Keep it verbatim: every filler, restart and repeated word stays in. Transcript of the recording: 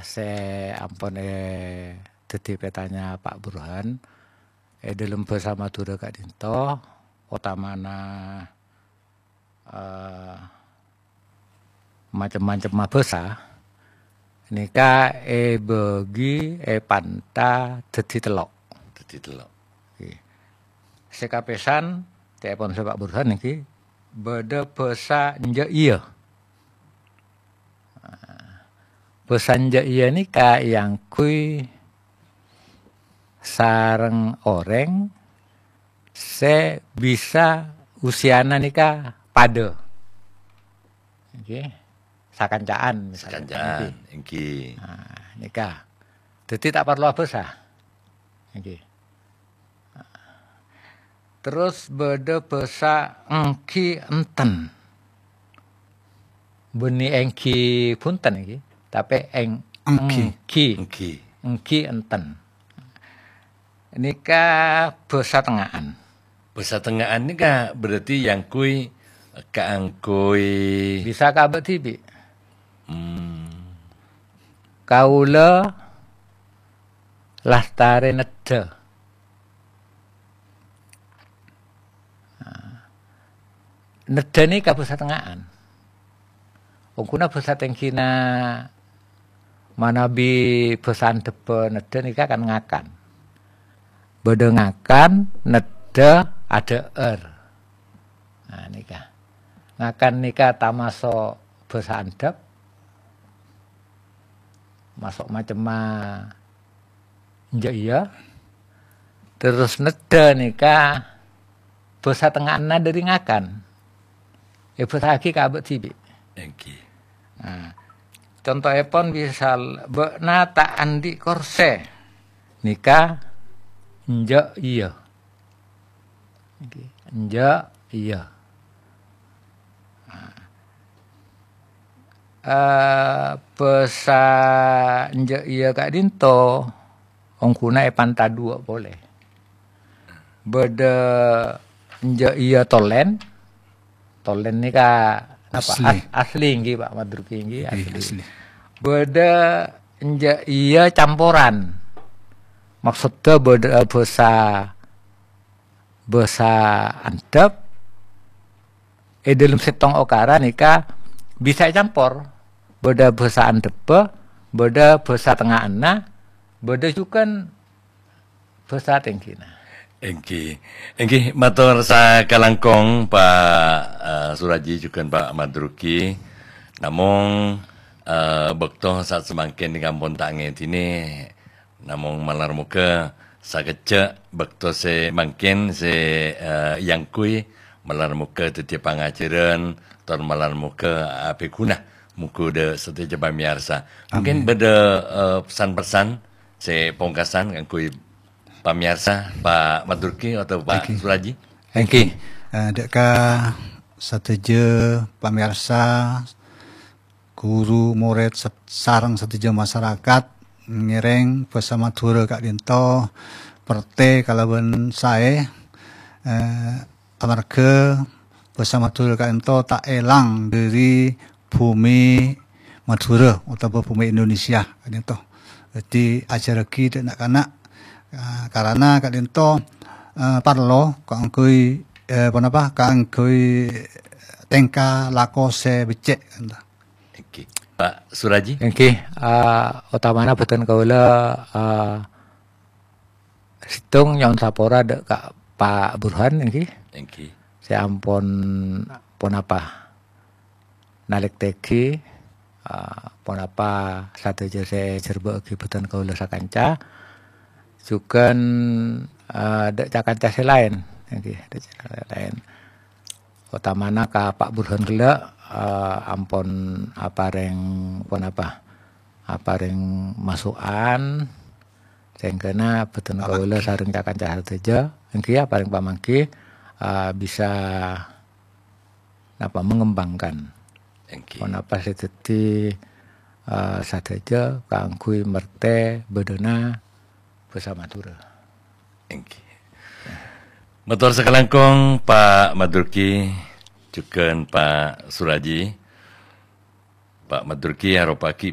sè ampon è-, dhâddhi pètanya Pak Burhan, è dhâlem bhâsa Madhurâ ka'dinto, otamana, eh, macem-macemma bhâsa, nèka èbâgi, èpanta dhâddhi tello'. Dhâddhi tello'. Ngghi. Sè kapèsan, ca'èpon sè Pak Burhan nèka, bâdâ bhâsa enjâ' iyâ. Bhâsa enjâ' iyâ nèka èangghuy sareng orèng sè bisa usiana nèka padâ. Ngghi. Sakanca'an, misalnya. Sakanca'an, ngghi. Nah, nèka. Dhâddhi ta' parlo abhâsa. Ngghi. Terros bâdâ bhâsa èngghi enten. Bânnè èngghi bhunten ngghi, tapè èng-, èngghi. Èngghi. Èngghi. Èngghi enten. Nèka bhâsa tengnga'an. Bhâsa tengnga'an nèka berarti èangghuy kaangghuy. Bisa ka abâ' dhibi'. Hmm. Kaulâ lastarè neddhâ. Nah, neddhâ nèka bhâsa tengnga'an. Ongghuna bhâsa tèngghina manabi bhâsa andhâbbhâ neddhâ nèka kan ngakan. Bâdâ ngakan, neddhâ, adhâ'âr. Nah, nèka. Ngakan nèka tamaso' bhâsa andhâp, maso' macemma enjâ' iyâ. Terros neddhâ nèka bhâsa tengnga'anna dhâri ngakan. Èbhâsa'aghi ka abâ' dhibi'. Èngghi. Nah, contoèpon misal, bâ'na ta' andi' korsè. Nèka enjâ' iyâ. Ngghi. Enjâ' iyâ. Nah. Eh, bhâsa enjâ' iyâ ka'dinto, ongghuna èpanta duwâ' polè. Bâdâ enjâ' iyâ tolèn. Tolèn nèka napa? Asli. As-, asli ngghi, Pak Madruki ngghi, ngghi, asli. Asli. Bâdâ enjâ' iyâ camporan. Maksoddhâ bâdâ bhâsa, bhâsa andhâp, è dhâlem sèttong okara nèka bisa ècampor. Bâdâ bhâsa andhâbbhâ, bâdâ bhâsa tengnga'anna, bâdâ jhughân bhâsa tèngghina. Èngghi. Èngghi, mator sakalangkong, Pak, eh, Suraji jhughân Pak Madruki. Namong, eh, bâkto saat samangkèn nèka ampon ta' ngèdinè. Namong malar moghâ sakejjhâ' bâkto sè mangkèn sè, eh, èangghuy, malar moghâ dhâddhiyâ pangajhârân, tor malar moghâ abhiguna. Moghâ dhâ' sadhâjâ pamèyarsa. Mungkin bâdâ, eh, pesan-pesan sè pongkasan kaangghuy pamèyarsa, Pak Madruki atau Pak Suraji? Èngghi. Eh, dhâ' ka sadhâjâ pamèyarsa, ghuru, morèd, sat-, sareng sadhâjâ masarakat ngèrèng bhâsa Madhurâ ka'dinto pertè kalabân saè, eh, amarghâ bhâsa Madhurâ ka'dinto ta' èlang dhâri bhumè Madhurâ otabâ bhumè Indonesia ka'dinto. Dhâddhi, ajhârraghi dhâ' na'-kana', eh, karana ka'dinto, eh, parlo kaangghuy, eh, ponapa, kaangghuy tèngka lako sè beccè', ka'dinto. Èngghi. Pak Suraji? Èngghi, eh, otamana bhâdhân kaulâ, eh, sèttong nyo'on sapora dhâ' ka Pak Burhan, èngghi. Èngghi. Sè ampon, ponapa, nalèktèghi, eh, ponapa sadhâjâ sè èjhârbâ'âghi bhâdhân kaulâ sakanca. Jhughân, eh, dhâ' ca-kanca sè laèn, èngghi, dhâ' ca-kanca sè laèn. Otamana ka Pak Burhan ghellâ', eh, ampon aparèng ponapa? Aparèng masukan, sehingga bhâdhân kaulâ sareng ca-kanca sadhâjâ, èngghi aparèng pamangghi, eh, bisa napa, mengembangkan. Èngghi. Ponapa sè dhâddhi, eh, sadhâjâ kaangghuy mertè bâdâna bhâsa Madhurâ. Èngghi. Mator sakalangkong, Pak Madruki, jhughân Pak Suraji. Pak Madruki aropa'aghi